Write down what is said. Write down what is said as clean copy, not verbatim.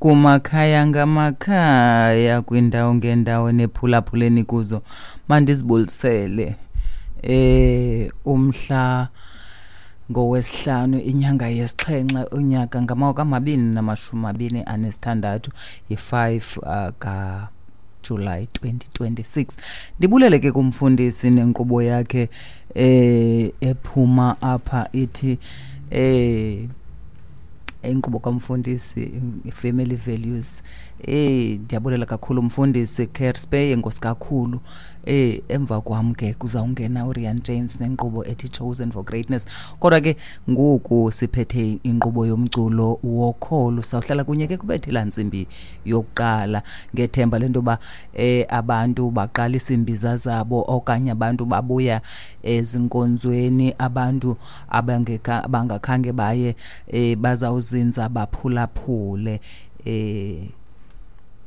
Kumakhaya ngamakhaya, kwiindawo ngeendawo nephulaphuleni kuzo, mandizibulisele. Umhla ngowesihlanu, inyanga yesixhenxe, unyaka ngama-2026, yi-5 kaJulayi 2026. Ndibulele ke kumfundisi nenkqubo yakhe ephuma apha ithi inkqubo kamfundisi Family Values. Ndiyabulela kakhulu mfundisi Kerspey, enkosi kakhulu. Emva kwam ke kuzawungena uRian James nenkqubo ethi Chosen for Greatness. Kodwa ke ngoku siphethe inkqubo yomculo wokholo, sawuhlala kunye ke kubethela ntsimbi yokuqala ngethemba lento yoba abantu baqalisa iimbiza zabo okanye abantu babuya ezinkonzweni, abantu abangakhange baye bazawuzinza baphulaphule.